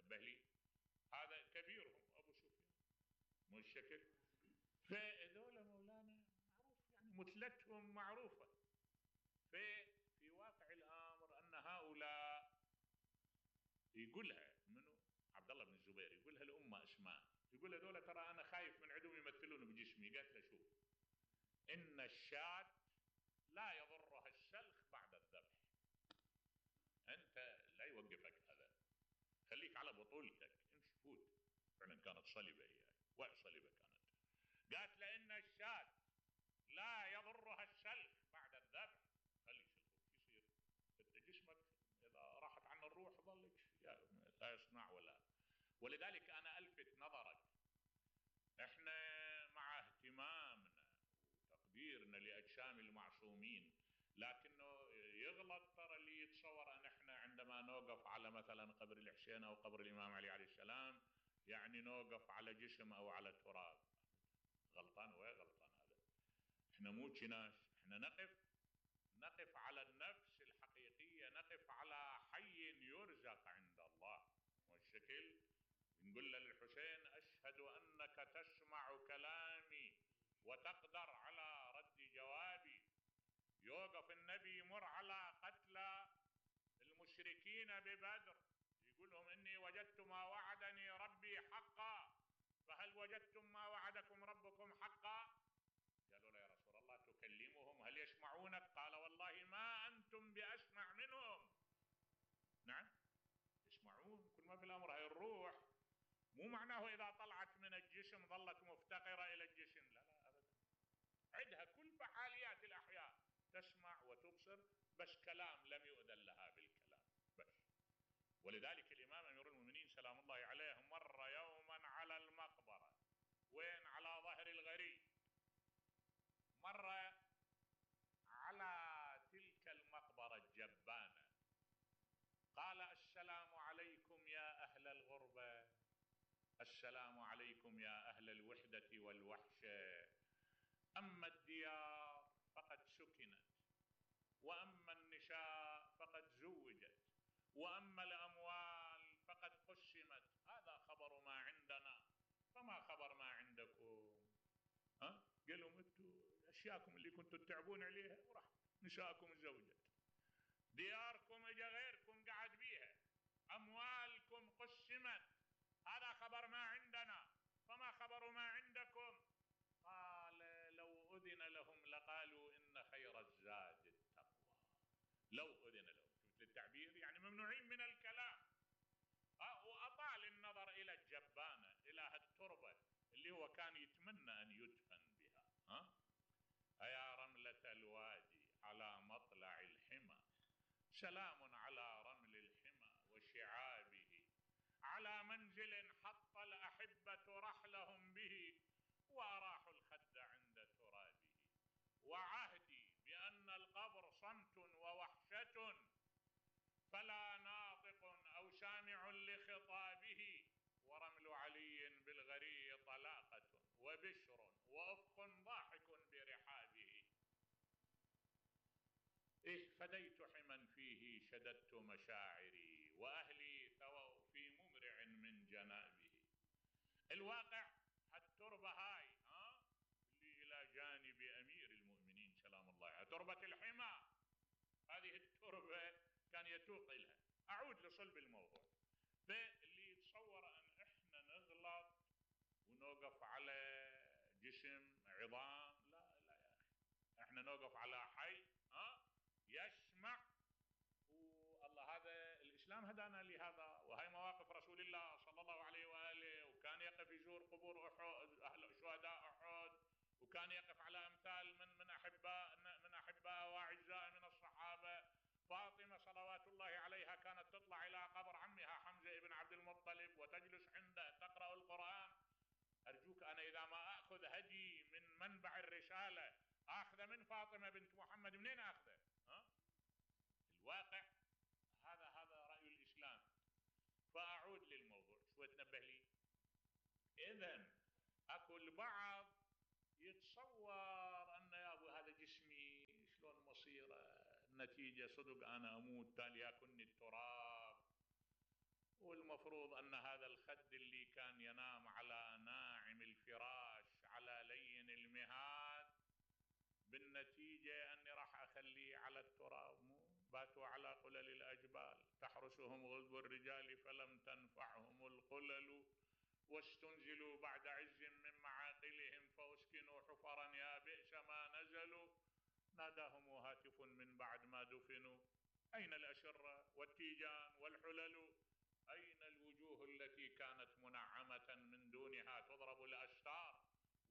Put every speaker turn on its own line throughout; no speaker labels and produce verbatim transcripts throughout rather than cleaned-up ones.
تنبه لي، هذا كبيرهم ابو سفيان مو الشكل. فهذول مولانا معروف يعني مثلتهم معروفه. ففي واقع الامر ان هؤلاء يقولها منو؟ عبد الله بن الزبير يقولها لامه اسماء، يقول هذول ترى انا خايف من عندهم يمثلون بجسمي. قالت له شوف، ان الشاة لا يضرها السلخ بعد الذبح. انت لا يوقفك هذا، خليك على بطولتك، امشي فوت. فعلا كانت صلبه هي، وع صلبه كانت. قالت لان الشاة لا يضرها السلخ بعد الذبح. خلي يسلخوك يصير جسمك اذا راحت عنه الروح ظلك لا يصنع ولا. ولذلك انا الفت نظرك، احنا مع اهتمامنا وتقديرنا لاجسام المعصومين، لكنه يغلط ترى اللي يتصور ان احنا عندما نوقف على مثلا قبر الحسين او قبر الامام علي عليه السلام يعني نوقف على جسم او على تراب. غلطان. وين غلطان هذا؟ احنا مو كناش، احنا نقف نقف على النفس الحقيقيه، نقف على حي يرزق عند الله. والشكل نقول للحسين اشهد انك تسمع كلامي وتقدر على رد جوابي. يوقف النبي يمر على قتلى المشركين ببدر يقول لهم اني وجدت ما وعدني ربي حقا، فهل وجدتم ما وعدكم ربكم حقا؟ قالوا له يا رسول الله تكلمهم هل يسمعونك؟ قال والله ما انتم باسمع منهم. نعم يسمعون، كل ما في الامر هاي الروح مو معناه اذا طلعت من الجسم ظلت مفتقره الى الجسم، لا لا ابدا، عندها كل فعاليات الاحياء، تسمع وتبصر، بس كلام لم يؤذن لها بالكلام بس. ولذلك الامام امير المؤمنين سلام الله عليه مر يوما على المقبره، وين؟ على ظهر الغريب. مر على تلك المقبره الجبانه، قال السلام عليكم يا اهل الغربه، السلام عليكم يا اهل الوحده والوحشه. اما الديار فقد سكنت، واما النساء فقد زوجت، واما الاموال فقد قسمت. هذا خبر ما عندنا، فما خبر ما عندكم؟ ها؟ قال لهم انتم اشياءكم اللي كنتم تتعبون عليها وراح، نساءكم زوجت، دياركم اجى غيركم قعد بيها، اموالكم قسمت، هذا خبر ما عندنا، فما خبر ما عندكم؟ قال لو اذن لهم لقالوا ان خير الزاد التقوى. لو اذن لهم، شفت التعبير؟ يعني ممنوعين من الكلام. واطال النظر الى الجبانه، الى هالتربه اللي هو كان يتمنى ان يدفن بها. ها؟ أيا رملة الوادي على مطلع الحمى، سلام على رمل الحمى وشعابه، على منزل حط الأحبة رحلهم به، وأراحوا الخد عند ترابه. وعهدي بأن القبر صمت ووحشة، فلا ناطق أو سامع لخطابه، ورمل علي بالغري طلاقة وبشر وأفق ضاحك برحابه. إيه فديت حما فيه شددت مشاعري، وأهلي ثووا في ممرع من جنابه. الواقع هالتربة هاي ها اللي إلى جانب أمير المؤمنين سلام الله عليه، تربة الحمى، هذه التربة كان يتوق لها. أعود لصلب الموضوع. فاللي يتصور أن إحنا نغلط ونوقف على جسم عظام، لا لا يا أخي، إحنا نوقف على حي ها يسمع. والله هذا الإسلام هدانا لهذا، وهي مواقف رسول الله صلى الله عليه وآله. وكان يقف يزور قبور أحد، أهل شهداء أحد، وكان يقف على أمثال من من أحباء من أحباء وأعزاء من الصحابة. فاطمة صلوات الله عليها كانت تطلع إلى قبر عمها حمزة بن عبد المطلب وتجلس عنده تقرأ القرآن. أرجوك أنا إذا ما أخذ هدي من منبع الرسالة أخذ من فاطمة بنت محمد، منين أخذه؟ ها؟ الواقع هذا هذا رأي الإسلام. فأعود للموضوع شو تنبه لي. إذن أكو البعض يتصور أن يا أبو هذا جسمي شلون مصيره، النتيجة صدق أنا أموت تالي يأكلني التراب. والمفروض أن هذا الخد اللي كان ينام على ناعم الفراش على لين المهاد بالنتيجة أني راح أخليه على التراب. مو باتوا على قلل الأجبال تحرسهم غلب الرجال فلم تنفعهم القلل واستنزلوا بعد عز من معاقلهم فأسكنوا حفرا يا بئس ما نزلوا ناداهم هاتف من بعد ما دفنوا أين الأشرة والتيجان والحلل أين الوجوه التي كانت منعمة من دونها تضرب الأستار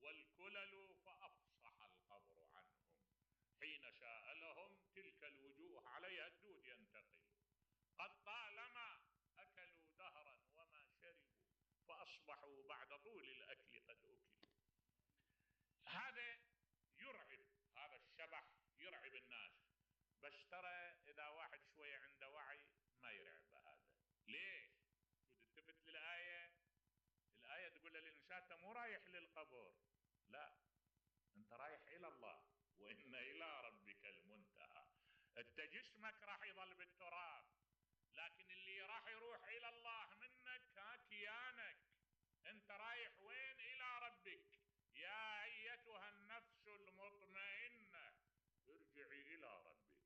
والكلل فأفصح القبر عنهم حين شاء لهم تلك الوجوه عليها الدود ينتقل قد طالما أكلوا دهرا وما شربوا فأصبحوا بعد طول الأكل قد أكلوا. هذا يرعب، هذا الشبح يرعب الناس، بس ترى إذا واحد شوية عنده وعي ما يرعب هذا. ليش؟ تلتفت للآية، الآية تقول للإنسان أنت مو رايح للقبر، لا أنت رايح إلى الله وإن إلى ربك المنتهى. أنت جسمك راح يظل بالتراب، لكن اللي راح يروح إلى الله منك ها كيانك. أنت رايح وين؟ إلى ربك. يا أيتها النفس المطمئنة ارجعي إلى ربك.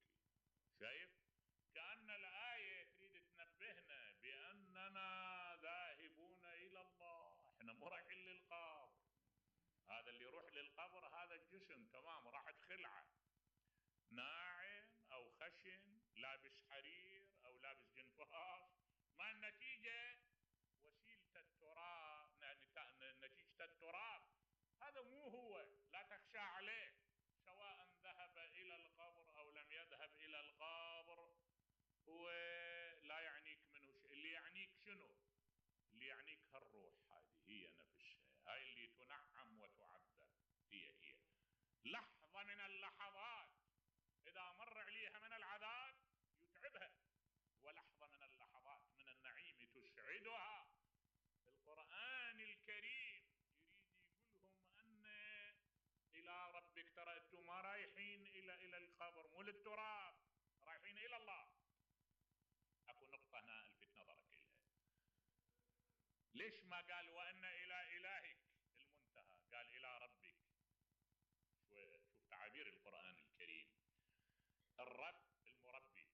شايف؟ كأن الآية تريد تنبهنا بأننا ذاهبون إلى الله، احنا مو رايحين للقبر. هذا اللي يروح للقبر هذا الجسم تمام راحت خلعة، ناعم أو خشن، لابس حرير أو لابس جنفاش، ما النتيجة؟ وسيلة التراب، نتيجة التراب. هذا مو هو، لا تخشى عليه سواء ذهب إلى القبر أو لم يذهب إلى القبر، هو لا يعنيك منه شيء. اللي يعنيك شنو؟ اللي يعنيك هالروح هذه هي نفسها، هاي اللي تنعم وتعذب، هي هي لحظة من اللحظات إذا مر عليها من العذاب يتعبها، ولحظة من اللحظات من النعيم تسعدها. القرآن الكريم يريد يقولهم أن إلى ربك، ترى أنتم ما رايحين إلى إلى القبر، مو للتراب، رايحين إلى الله. أكو نقطة هنا ألفت نظرك إليها، ليش ما قال وأن إلى إلهك المنتهى، قال إلى ربك؟ شوف تعابير القرآن الكريم. الرب المربي،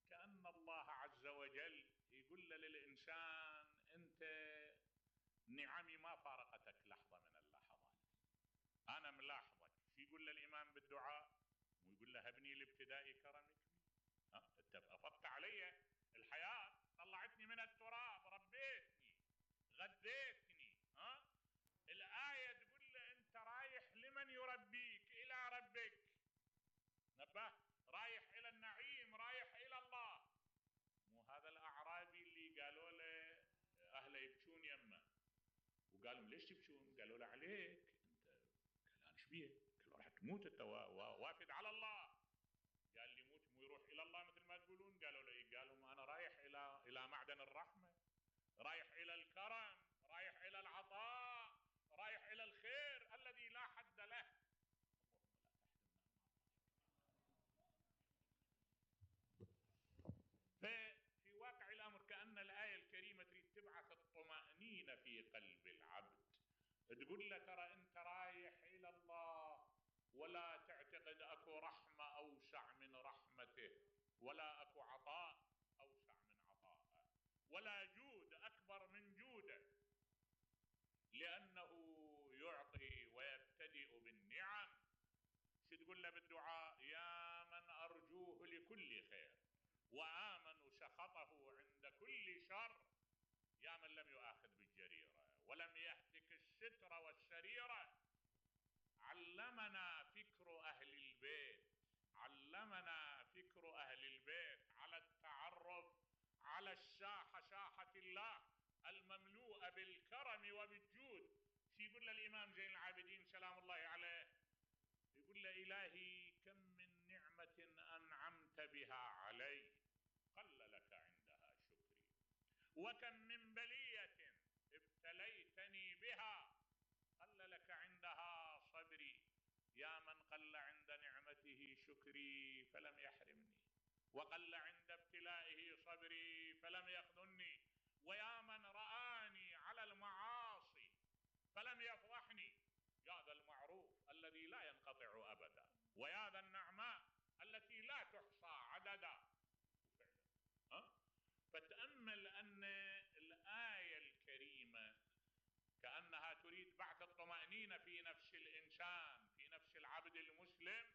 كأن الله عز وجل يقول للإنسان أنت نعمي ما فارقتك لحظة من اللحظات، أنا ملاحظك. شو يقول للإمام بالدعاء؟ مو يقول له هبني لابتداء كرمك بي، ها أنت أفضت علي الحياة، طلعتني من التراب، ربيتني، غذيتني. ها الآية تقول له أنت رايح لمن يربيك؟ إلى ربك. نبه، رايح إلى النعيم، رايح إلى الله. مو هذا الأعرابي اللي قالوا له أهله يبكون يمه، وقالوا ليش تبكون؟ قالوا له عليك أنت. قال أنا إيش بيه؟ قالوا راح تموت أنت وافد على الله. قال لي موت مو يروح إلى الله مثل ما تقولون؟ قالوا له إيه؟ قالوا ما أنا رايح إلى إلى معدن الرحمة، رايح إلى الكرم، رايح إلى العطاء، رايح إلى الخير الذي لا حد له. اللهم لا تحرمنا من في واقع الأمر كأن الآية الكريمة تريد تبعث الطمأنينة في قلب العبد، تقول له ترى أنت رايح إلى الله، ولا تعتقد أكو رحمة أوسع من رحمته، ولا أكو عطاء أوسع من عطاءه، ولا جود أكبر من جوده، لأنه يعطي ويبتدئ بالنعم. شو تقول له بالدعاء؟ يا من أرجوه لكل خير وآمن سخطه عند كل شر، يا من لم يؤاخذ بالجريرة ولم يهتك الستر والسريرة. علمنا فكر أهل البيت، علمنا فكر أهل البيت على التعرف على الساحة، ساحة الله المملوءة بالكرم وبالجود. شو يقول للإمام زين العابدين سلام الله عليه؟ يقول له إلهي كم من نعمة أنعمت بها علي قل لك عندها شكري، وكم من بلية ابتليتني بها قل لك عندها صبري، يا من قل عند نعمته شكري فلم يحرمني، وقل عند ابتلائه صبري فلم يخذلني. ويا من رآني على المعاصي فلم يفضحني، يا ذا المعروف الذي لا ينقطع أبدا، ويا ذا النعماء التي لا تحصى عددا. وفعلا ها؟ فتأمل أن الآية الكريمة كأنها تريد بعث الطمأنينة في نفس الإنسان، في نفس العبد المسلم،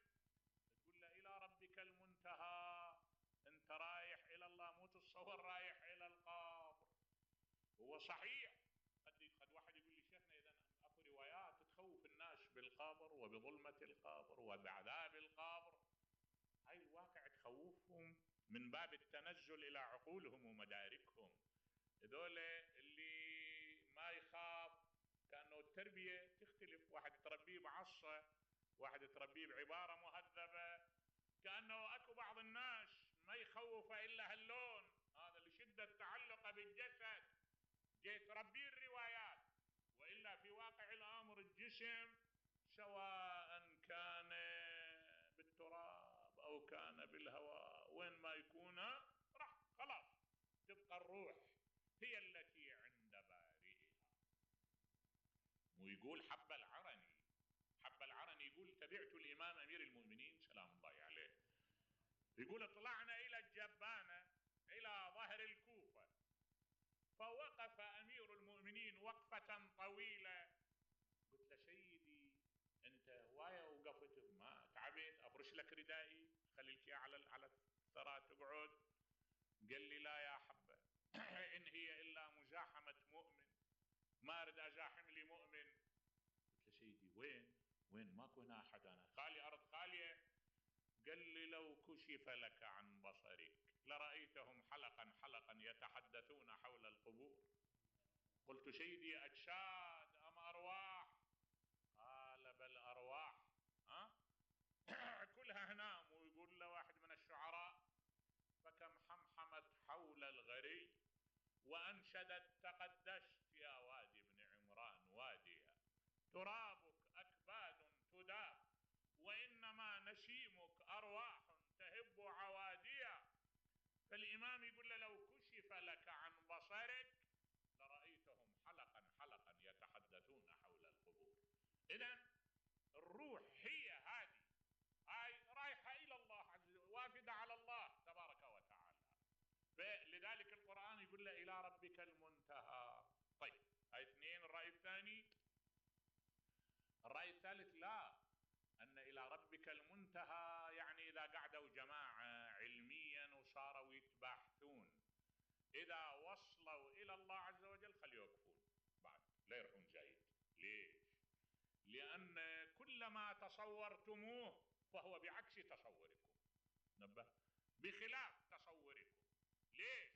تقول له إلى ربك المنتهى. أنت رايح إلى الله، مو تتصور رايح إلى القبر. هو صحيح قد قد واحد يقول لي شيخنا إذا أكو روايات تخوف الناس بالقبر وبظلمة القبر وبعذاب القبر، هاي الواقع تخوفهم من باب التنزل إلى عقولهم ومداركهم. هذول اللي ما يخاف، كأنه التربية تختلف، واحد تربيه بعصا، واحد تربيه بعبارة مهذبة. كأنه أكو بعض الناس ما يخوف إلا هاللون هذا لشدة تعلقه بالجسد، جاي تربيه الروايات، وإلا في واقع الأمر الجسم سواء كان بالتراب أو كان بالهواء، وين ما يكون راح خلاص تبقى الروح هي التي عند بارئها. ويقول حب العرني، حب العرني يقول تبعت الإمام أمير المؤمنين سلام الله عليه، يقول طلعنا إلى الجبانة إلى ظهر الكوفة، فوقف أمير المؤمنين وقفة طويلة. قلت له سيدي أنت هواية وقفت، ما تعبت؟ أفرش لك ردائي خليك على على الثرى تقعد؟ قال لي لا يا حبة إن هي إلا مزاحمة مؤمن، ما أريد أزاحم لي مؤمن. قلت له سيدي وين وين ماكو هنا أحد، أنا خالي أرض خالية. قال لي لو كشف لك عن بصرك لرأيتهم حلقا حلقا يتحدثون حول القبور. قلت سيدي أجساد أم أرواح؟ قال بل أرواح. ها كلها هنام. ويقول له واحد من الشعراء فكم حمحمت حول الغري وأنشدت تقدست يا وادي بن عمران واديا، ترابك أكباد تداب وإنما نسيمك أرواح تهب عواديا. فالإمام يقول له لو كشف لك عن بصرك لرأيتهم حلقا حلقا يتحدثون حول القبور. إذن الروح هي هذه، هاي رايحة إلى الله عز وجل، وافدة على الله تبارك وتعالى. فلذلك القرآن يقول له إلى ربك المنتهى. طيب هاي اثنين. الرأي الثاني، الرأي الثالث لا، أن إلى ربك المنتهى يعني إذا قعدوا جماعة علميا وصاروا يتباحثون، إذا وصلوا إلى الله عز وجل خلي يوقفون بعد لا يروحون جايد. ليش؟ لأن كلما تصورتموه فهو بعكس تصوركم، نبه، بخلاف تصوركم. ليش؟